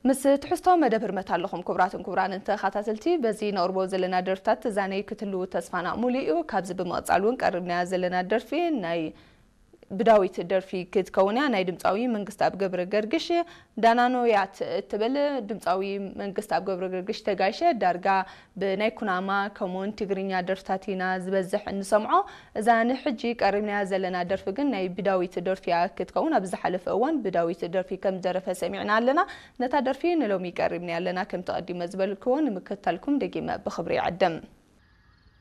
ምስ ትሕዝቶ መደብ ህርመት ኣለኹም። ክቡራትን ክቡራንን ተኸታተልቲ፣ በዚ ነቕርቦ ዘለና ደርፍታት ትዛነይ ክትህልዉ ተስፋና ሙሉእ እዩ። ካብዚ ብምቕጻል እውን ቀሪብናያ ዘለና ደርፊ ናይ ብዳዊት ደርፊ ክትከውን እያ። ናይ ድምፃዊ መንግስትኣብ ገብረ ገርግሽ ዳናኖ እያ ት-፣ እትብል። ድምፃዊ መንግስትኣብ ገብረ ገርግሽ ተጋይሸ ዳርጋ ብናይ ኩናማ ከምኡውን ትግርኛ ደርፍታት ኢና ዝበዝሕ እንሰምዖ። እዛ ንሕጂ ቀሪብናያ ዘለና ደርፊ ግን ናይ ብዳዊት ደርፊ እያ ክትከውን። ኣብ ዝሓለፈ እዋን ብዳዊት ደርፊ ከም ዝደረፈ ሰሚዕና ኣለና። ነታ ደርፊ ንሎሚ ቀሪብናያ ኣለና። ከምቲ ቀዲመ ዝበልክዎ ንምክትታልኩም ደጊመ ብኽብሪ ይዕድም።